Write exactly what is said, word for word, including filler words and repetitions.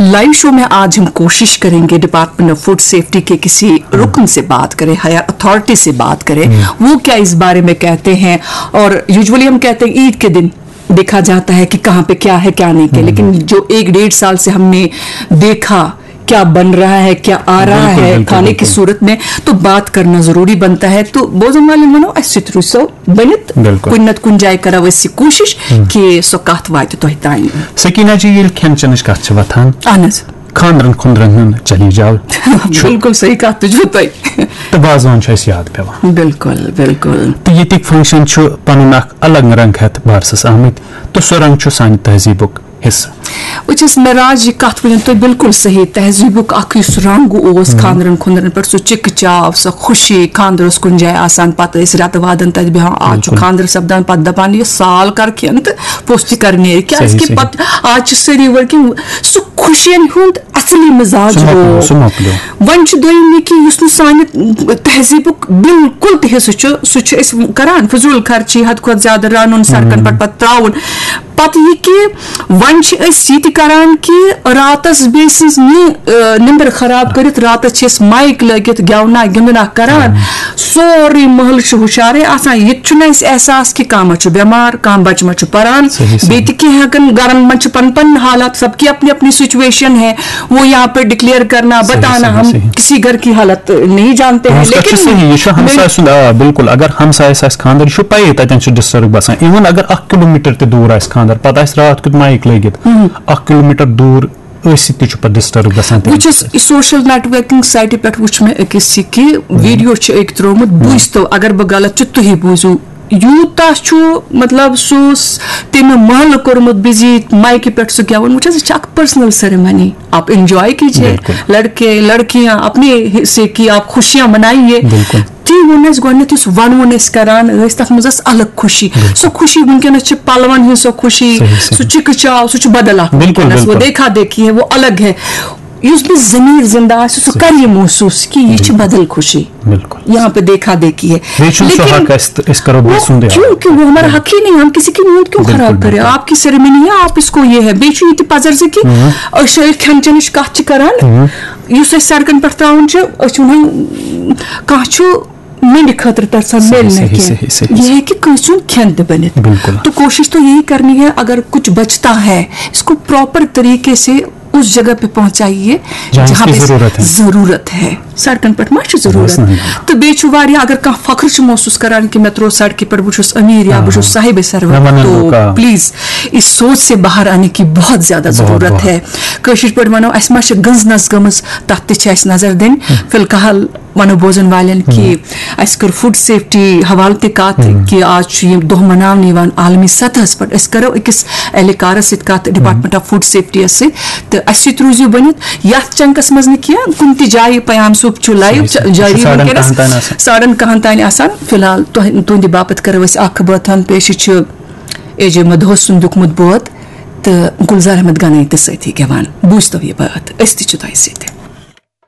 Live show में आज हम कोशिश करेंगे डिपार्टमेंट ऑफ फूड सेफ्टी के किसी रुकन से बात करें, हायर अथॉरिटी से बात करें, वो क्या इस बारे में कहते हैं। और यूजुअली हम कहते हैं ईद के दिन देखा जाता है कि कहाँ पे क्या है, क्या नहीं, क्या, लेकिन जो एक डेढ़ साल से हमने देखा क्या बन रहा है, क्या आ रहा है खाने की सूरत में, तो बात करना जरूरी बनता है। तो بوزن والٮ۪ن وَنو أسۍ سۭتۍ روٗزِو بٔنِتھ۔ کُنہِ نتہٕ کُنہِ جایہِ کرو أسۍ یہِ کوٗشِش کہِ سۄ کتھ واتہِ تۄہہِ تام۔ سکینہ جی، ییٚلہِ کھٮ۪ن چٮ۪نٕچ کتھ چھِ وۄتھان، اہن حظ۔ خانٛدرن خُنٛدرن ہُنٛد چلی جاو چھُ۔ بِلکُل صحیح کتھ تہِ چھُو تۄہہِ۔ تہٕ وازوان چھُ اَسہِ یاد پٮ۪وان۔ بِلکُل، بِلکُل۔ تہٕ ییٚتِکۍ فنکشن چھُ پنُن اکھ الگ رنگ ہٮ۪تھ بارسس آمٕتۍ، تہٕ سُہ رنگ چھُ سانہِ تہذیٖبُک حصہٕ۔ وٕچھ حظ معراج، یہِ کتھ ؤنِو تُہۍ بِلکُل صحیح۔ تہذیٖبُک اکھ یُس رنگ اوس خانٛدرن خُنٛدرن پٮ۪ٹھ، سُہ چِکہٕ چاو، سۄ خوشی، خانٛدر اوس کُنہِ جایہِ آسان، پتہٕ ٲسۍ رٮ۪تہٕ وادن تتہِ بیٚہوان۔ آز چھُ خانٛدر سپدان، پتہٕ دپان یہِ سال کر کھٮ۪ن تہٕ پوٚژھ تہِ کر نیرِ، کیازِ کہِ پتہٕ آز چھِ سٲری ؤرکنگ، سُہ خوشین ہُنٛد اصلی مزاج سُہ مۄکلیو، روو۔ سُہ مۄکلیو۔ وۄنۍ چھُ دوٚیِم یہِ کہِ یُس نہٕ سانہِ تہذیٖبُک بِلکُل تہِ حصہٕ چھُ، سُہ چھُ أسۍ کران فضوٗل خرچی، حد کھۄتہٕ زیادٕ رَنُن، سڑکن پٮ۪ٹھ پتہٕ ترٛاوُن۔ پتہٕ یہِ کہِ وۄنۍ چھِ أسۍ یہِ تہِ کران کہِ راتس بیٚیہِ سٕنٛز نِ-، آ، نِندٕر خراب کٔرِتھ راتس چھِ أسۍ مایِک لٲگِتھ گٮ۪ونا گِنٛدنا کران۔ سورُے محلہٕ چھُ ہُشارے آسان، یہِ تہِ چھُنہٕ اَسہِ احساس کہِ کانٛہہ ما چھُ بٮ۪مار، کانٛہہ بچہٕ ما چھُ پران۔ صحیح، صحیح۔ بیٚیہِ تہِ کینٛہہ ہٮ۪کن گرن منٛز چھِ پنٕنۍ پنٕنۍ حالات، سب کی اپنی اپنی سچویشن ہے، وہ یہاں پہ ڈکلیئر کرنا، صحیح، بتانا، صحیح، ہم صحیح۔ کسی گھر کی حالت نہیں جانتے ہیں، تُہٕنٛز کَتھ چھِ لیکن صحیح، یہِ چھُ ہمساے سُنٛد، آ، بِلکُل۔ اگر ہمسایَس آسہِ خانٛدر، یہِ چھُ پَیی تَتٮ۪ن چھُ ڈِسٹٔرٕب گژھان۔ اِوٕن اگر اَکھ کِلوٗ میٖٹر تہِ دوٗر آسہِ خانٛدر، پَتہٕ آسہِ راتھ کیُتھ مایِک لٲگِتھ، اَکھ کِلوٗ میٖٹر دوٗر ٲسِتھ تہِ چھُ پَتہٕ ڈِسٹٔرٕب گژھان تَمہِ وٕچھ حظ، سۭتۍ۔ یہِ سوشل نیٹ ورکنگ سایٹہِ پٮ۪ٹھ وٕچھ مےٚ أکِس یہِ کہِ ویٖڈیو چھُ أکۍ ترٛوومُت، بوٗزتو، اگر بہٕ غلط چھُ، تُہی بوٗزِو۔ یوٗتاہ چھُ، مطلب، سُہ اوس تٔمۍ محلہٕ کوٚرمُت بِزی مایکہِ پٮ۪ٹھ سُہ گٮ۪وُن۔ وٕچھ حظ، یہِ چھِ اَکھ پٔرسنل سیرمنی، آپ انجوائے کیجیے، بِلکُل۔ لڑکے لڑکیاں اپنے حصے کی آپ خوشیاں منائیے۔ بِلکُل۔ تی ووٚن اَسہِ گۄڈٕنٮ۪تھ، یُس وَنوُن أسۍ کران ٲسۍ، تَتھ منٛز ٲس الگ خوشی۔ بِلکُل۔ سۄ خوشی وٕنکیٚنَس چھِ پَلوَن ہٕنٛز سۄ خوشی، صحیح، صحیح۔ سُہ چِکہٕ چاو، سُہ چھُ بدل اکھ بِلکُل، وٕنکیٚنَس، وہ بِلکُل۔ دیکھا دیکھی ہے، وہ الگ ہے۔ یُس بیٚیہِ ضمیٖر زِندٕ آسہِ، سُہ صحیح۔ کَرِ یہِ محسوٗس کہِ یہِ چھِ بدل خوشی۔ بِلکُل۔ یہاں پہ دیکھا دیکھی ہے۔ بیٚیہِ چھُنہٕ سُہ لیکن حق اَسہِ تہٕ أسۍ کَرو بیٚیہِ وہ سُنٛدُے حق۔ کیونکہ وہ ہمارا حق ہی نہیں، ہم کسی کی نیت کیوں بِلکُل، خراب کریں؟ بِلکُل۔ آپ کی سیرمنی ہے، آپ اس کو یہ ہے۔ بیٚیہِ چھُ یہِ تہِ پَزر زِ کہِ أسۍ چھِ ییٚلہِ کھٮ۪ن چٮ۪نٕچ کَتھ چھِ کَران، یُس أسۍ سڑکن پٮ۪ٹھ ترٛاوان چھِ، أسۍ چھِ وَنان، کانٛہہ چھُ مِنٛڈِ خٲطرٕ ترسان صحیح، مِلنہٕ صحیح، کینٛہہ۔ صحیح، صحیح۔ یہِ ہیٚکہِ کٲنٛسہِ ہُنٛد کھٮ۪ن تہِ بٔنِتھ۔ بِلکُل۔ تو کوشش تو یہی کرنی ہے، اگر کچھ بچتا ہے، اس کو پراپر طریقے سے اس جگہ پہ پہنچائیے، جہاں اس جہاں کی پہ ضرورت ہے۔ ضرورت ہے۔ سڑکن پٮ۪ٹھ ما چھِ ضرورت؟ بس نہیں۔ تہٕ بیٚیہِ چھُ واریاہ، اگر کانٛہہ فخر چھُ محسوٗس کران کہِ مےٚ ترٛوو سڑکہِ پٮ۪ٹھ، بہٕ چھُس أمیٖر یا بہٕ چھُس صاحبِ ثروت، مےٚ وَنن تو لُکھ، آ۔ پلیز اس سوچ سے باہر آنے کی بہت زیادٕ بہت، ضرورت بہت۔ ہے۔ کٲشِر پٲٹھۍ وَنو، اَسہِ ما چھِ گٔنٛزنَس گٔمٕژ، تَتھ تہِ چھِ اَسہِ نظر دِنۍ۔ فی الحال وَنو بوزن والٮ۪ن کہِ اَسہِ کٔر فوڈ سیفٹی حوالہٕ تہِ کَتھ کہِ آز چھُ یہِ دۄہ مناونہٕ یِوان عالمی سطحس پٮ۪ٹھ۔ أسۍ کَرو أکِس اہلکارس سۭتۍ کَتھ، ڈپارٹمنٹ آف فوڈ سیفٹی یَس سۭتۍ، تہٕ اَسہِ سۭتۍ روٗزِو بٔنِتھ یَتھ چنکس منٛز نہٕ کینٛہہ، کُنہِ تہِ جایہِ۔ پیام صٲب چھُ لایو صحیح، صحیح۔ جٲری ساڑن وٕنکیٚنَس، کَہَن تام آسان۔ ساڑن کَہَن تام آسان۔ فی الحال تۄہہِ، تُہنٛدِ باپتھ کَرو أسۍ اکھ بٲتھ ہن پیش، یہِ چھُ اے جے مدہوس سُنٛد لیوٗکھمُت بٲتھ تہٕ گُلزار احمد گنایی تہِ سۭتی گٮ۪وان۔ بوٗزتو یہِ بٲتھ، أسۍ تہِ چھِ تۄہہِ سۭتۍ۔